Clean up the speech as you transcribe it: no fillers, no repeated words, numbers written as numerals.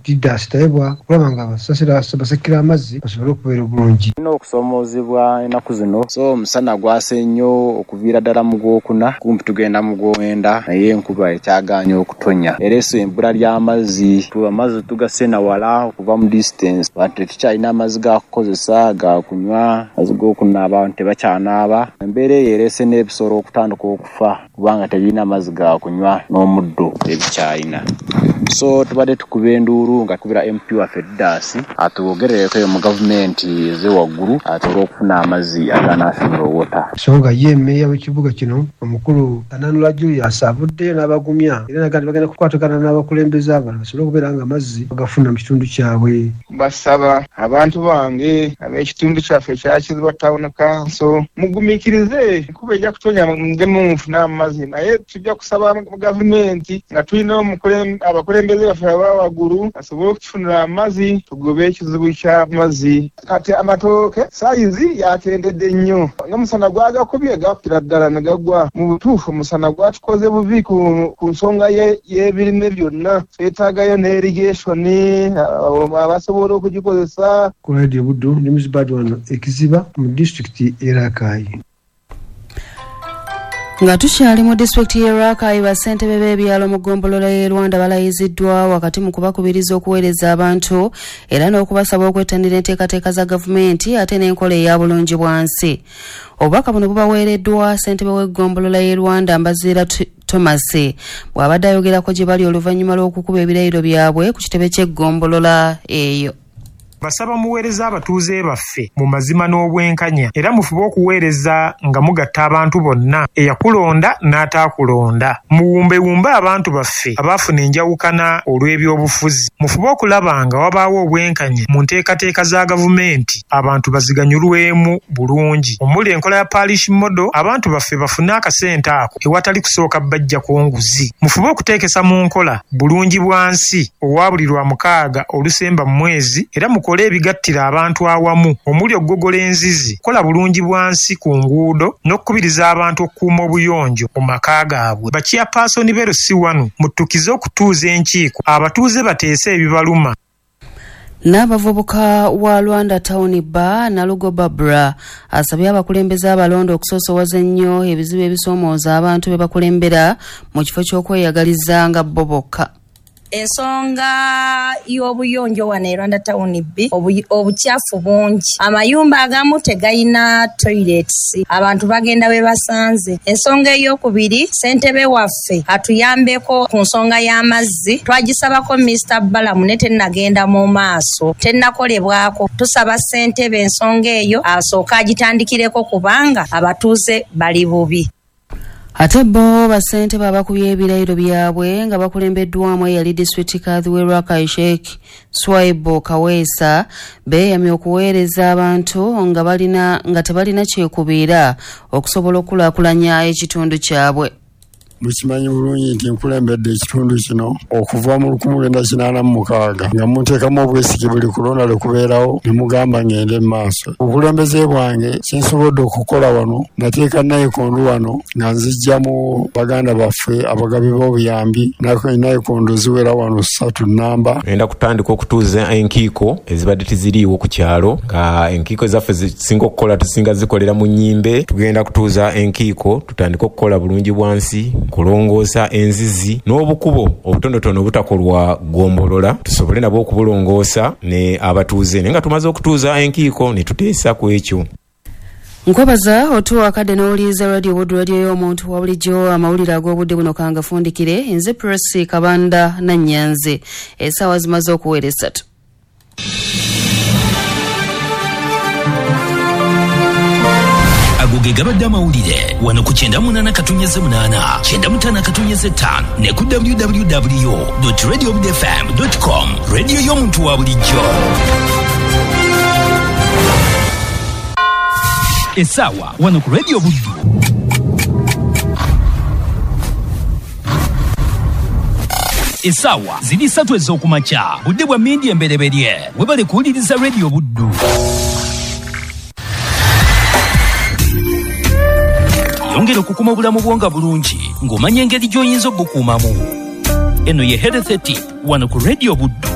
Didas Tayebwa okulaba nga basasira basekera amazzi basobole okubeera obulungi. Tulina okusomoozebwa ennaku zino, so omusana gwase nnyo okuviira ddala mu gwokuna kumpi tugenda mu gwomwenda, naye enkuba ekyagaanye okutonya, ereese ebbula ly'amazzi. Amazzi tugasena wala okuva mu distance, abantu tetukyalina amazzi ga kukozesa, ga kunywa, amazzi g'okunaaba abantu tebakyanaaba. Embeera eyo ereese n'ebisolo okutandika okufa kubanga tebirina mazzi ga kunywa n'omuddo tebikyalina. So tubadde tukuba enduulu nga tukubira MP waffe Didas atwogerereko eyo mu gavumenti eze waggulu asobole okufuna amazzi aga national water. So nga ye mmeeya w'ekibuga kino omukulu Kananula Julius avuddeyo n'abagumya era n'agamba nti bagenda kukwatagana n'abakulembeze abalala basobole okubeera nga amazzi bagafuna mu kitundu kyabwe. Mbasaba abantu bange ab'ekitundu kyaffe ekya Kiziba Town Council mugumiikirize, enkuba ejja kutonya muddemu mufune amazzi, naye tujja kusaba gavumenti nga tulina abakulembeze baffe aba waggulu basobole okutufunira amazzi tugobe ekizibu ky'amazzi. Kati amatooke sayizi yakendedde nnyo, n'omusana gwagakubye gakira ddala ne gagwa. Mu butuufu omusana gwatukoze bubi ku nsonga y'ebirime byonna. Twetaagayo ne irrigation abasobola okugikozesa. Ku Radio Buddu ndi Muzibad wano e Kiziba mu disitulikiti y'e Rakai. Nga tukyali mu disitulikiti y'e Rakai, bassentebe b'ebyalo mu ggombolola y'e Rwanda balayiziddwa wakati mu kubakubiriza okuweereza abantu era n'okubasaba okwettanira enteekateeka za gavumenti ate n'enkola eya bulungi bwansi. Obubaka buno bubaweereddwa ssentebe w'eggombolola y'e Rwanda Mbaziira Thomas bw'abadde ayogerako gye bali oluvannyuma lw'okukuba ebirayiro byabwe ku kitebe ky'eggombolola eyo. Basaba muweereza abatuuze baffe mu mazima n'obwenkanya era mufube okuweereza nga mugatta abantu bonna, eyakulonda n'ataakulonda. Muwumbewumbe abantu baffe abaafuna enjawukana olw'ebyobufuzi. Mufube okulaba nga wabaawo obwenkanya mu nteekateeka za gavumenti abantu baziganyulwemu bulungi, omuli enkola ya parish model, abantu baffe bafune akasente ako ewatali kusooka bajjako nguzi. Mufube okuteekesa mu nkola bulungi bwansi owa buli Lwamukaaga olusemba mu mwezi era mukole ebigattira abantu awamu omuli okugogola enzizi, kukola bulungi bwansi ku nguudo n'okukubiriza abantu okukuuma obuyonjo mu maka gaabwe. Ba chairperson b'e LC1 muttukize okutuuza enkiiko abatuuze bateese ebibaluma. N'abavubuka wa Rwanda Town Bar Nalugo Barbara asabye abakulembeze abalonde okusoosowaza ennyo ebizibu ebisoomooza abantu be bakulembera mu kifo ky'okweyagaliza nga bo bokka. Ensonga y'obuyonjo wano e Rwanda Town B, obukyafu bungi, amayumba agamu tegayina toilets, abantu bagenda we basanze. Ensonga ey'okubiri, ssentebe waffe atuyambeko ku nsonga y'amazzi, twagisabako Mr Balamu ne tennagenda mu maaso, tennakolebwako. Tusaba ssentebe ensonga eyo asooke agitandikireko kubanga abatuuze bali bubi. Ate bo bassentebe abakubye ebirayiro byabwe nga bakulembeddwamu eyali disitulikiti Kadhi w'e Rakai Sheikh Swaibu Kaweesa beeyamye okuweereza abantu nga balina nga tebalina kyekubiira okusobola okukulaakulanya ekitundu kyabwe. Mukimanyi bulungi nti nkulembedde ekitundu kino okuva mu 1986 nga munteekamu obwesige buli kulonda lwe kubeerawo ne mugamba ngende mu maaso. Obukulembeze bwange kye nsobodde okukola wano, nateeka nayikondo wano nga nzijja mu baganda baffe abagabi b'obuyambi, nayikondo ziwera wano 3 namba. Ngenda kutandika okutuuza enkiiko ezibadde tiziriiwo ku kyalo, nga enkiiko ezaffe zisinga okukola tusinga zikolera mu nnyimbe. Tugenda kutuuza enkiiko tutandike okukola bulungi bwansi, kulongoosa enzizi n'obukubo obutonotono obutakolwa ggombolola tusobole nabwo okubulongoosa ne abatuuze, naye nga tumaze okutuuza enkiiko ne tuteesa ku ekyo. Nkwebaza otuwa akadde n'owuliriza Radio Buddu, radio y'omuntu wa bulijjo. Amawulire ag'obudde buno kangafundikire nze Prossy Kabanda Nannyanzi. Essaawa zimaze okuwera 3. Ago ge gabadde amawulire wano ku 98.8, 95.5 ne ku www.radiobudfm.com, radio y'omuntu wa bulijjo. Essaawa wano ku Radio Buddu. Essaawa ziri 3 ez'okumakya, budde bwa mmindi embereberye. Webale kuwuliriza Radio Buddu. Yongera okukuma obulamu bwo nga bulungi ng'omanya engeri gy'oyinza obukuumamu. Eno ye Health Tip wano ku Radio Buddu.